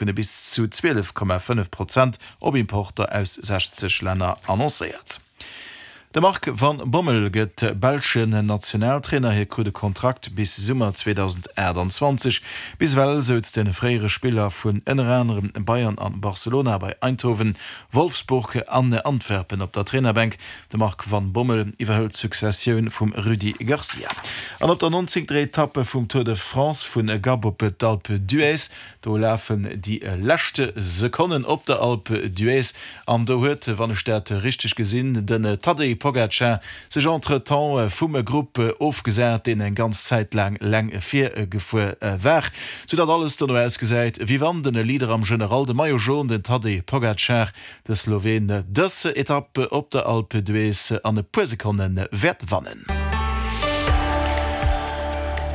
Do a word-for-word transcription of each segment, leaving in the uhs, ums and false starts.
Kënne bis zu zwielef Komma fënnef Prozent op Importer aus sechzeg Länner annoncéiert. De Marc van Bommel gëtt belschen Nationaltrainer. Hie krut e Kontrakt bis Summer zweedausendaachtanzwanzeg. Bis ewell souz de fréiere Spiller vun ënner anerem Bayern an Barcelona bei Eindhoven, Wolfsburg an Antwerpen op der Trainerbänk. De Marc van Bommel iwwerhëlt d'Successioun vum Rudi Garcia. An op der nonzéngter Etapp vum Tour de France vu Gap op d'Alpe d'Huez Do lafen déi lescht Sekonnen op der Alpe d'Huez an do huet, wann ech dat richteg gesinn, den Tadej Pogacar sech entretemps vum Grupp ofgesat, deen eng ganz Zäit laang eleng vir gefuer war, soudatt alles dono ausgesäit, wéi wann den Leader am General, de Maillot Jaune, den Tadej Pogacar, de Sloween, dës Etapp op der Alpe d'Huez an e puer Sekonne wäert wannen.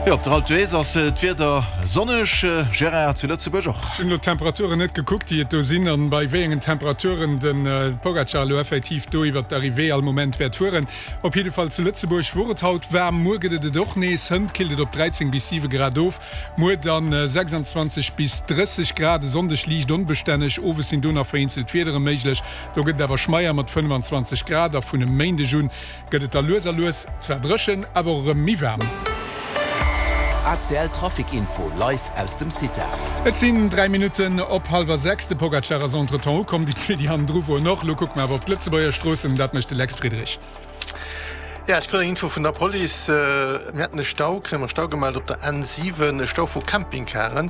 Jo, op der Alpe d'Huez ass d'Wieder sonneg, Gérard, zu Lëtzebuerg och. Ech hunn elo d'Temperaturen net gekuckt, déi et do sinn an bei wéi engen Temperaturen de Pogacar elo effektiv do iwwert d'Arrivée all Moment wäert fueren. Op jidde Fall zu Lëtzebuerg wor et haut waarm, muer gëtt et et och nees. Hënt killt et op dräizéng bis siwe Grad of, muer dann sechsandzwanzeg bis drësseg Grad. E Sonndeg liicht onbestänneg, owes sinn do nach vereenzelt Wiedere méiglech, do gëtt et awer schmeier mat fënnfanzwanzeg Grad a vun e Méindeg un gëtt et da lues a lues zwar dréchen, awer och erëm méi waarm. A C L Trafic Info live aus dem CITA. Et sinn dräi Minutten op hallwer sechs. De Pogacar ass entretemps ukomm, déi zwee, déi hannendru woren och. Elo kucke mer awer op d'Lëtzebuerger Stroossen, dat mécht de Lex Friedrich. Jo, ech krut eng Info vun der Police. Mir hätten e Stau, kréie mer e Stau gemellt op der N siwen, e Stau vu Campingcaren.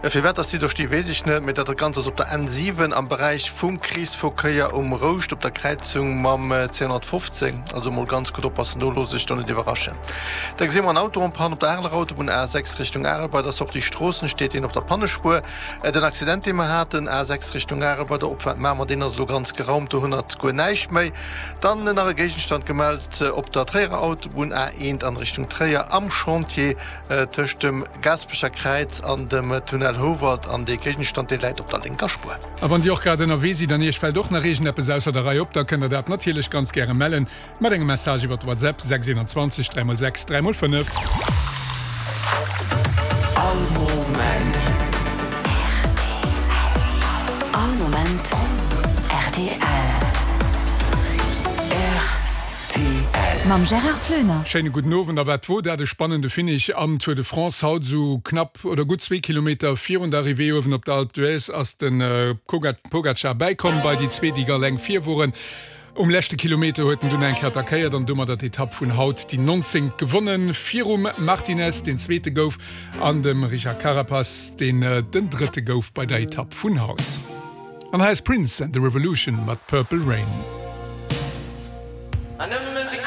Firwat dass déi do sti weess ech net, mee dat Ganzt ass op der N siwen am Beräich vum Kreesverkéier um Rouscht op der Kräizung mam C honnertfofzéng. Also mol ganz gutt oppassen do, looss sech do net iwwerraschen. Da gesi mer en Auto en panne op der Areler Autobunn A sechs Richtung Arel bei der Sortie Stroossen steet deen op der Pannespuer. Den Accident dee mer haten, A sechs Richtung Arel bei der Opfaart Mamer, deen ass elo ganz geraumt, do hunn der guer näischt méi. Dann nach e Géigenstand gemellt op der Tréierer Autobunn A eent an Richtung Tréier am Chantier tëscht dem Gaasperecher Kräiz an dem Tunnel Houwald an dee Géigenstand dee läit op der lénker Spuer. A wann Dir och grad ënnerwee sidd an Iech fält och nach iergendeppes ausser der Rei op, da kënnt Der dat natierlech ganz gäre mellen mat engem Message iwwer WhatsApp, sechs eenanzwanzeg dräi mol sechs dräi mol fënnef. All Moment. All Moment rtl. Rtl. Mam Gérard Floener. Schéine gudden Owend. A wat wor dat e spannende Finish am Tour de France haut. Esou knapp oder gutt zwee Kilometer virun der Arrivée uewen op der Alpe d'Huez ass de Pogacar bäikomm bei déi zwee, déi alleng vir woren. Um leschte Kilometer huet en dunn eng Kéier attackéiert an domadder d'Etapp vun haut, déi nonzéngt, gewonnen, virum Martinez, deen Zweete gouf, an dem Richard Carapaz, deen den Drëtte gouf bei der Etapp vun haut. An hei ass Prince and the Revolution mat Purple Rain.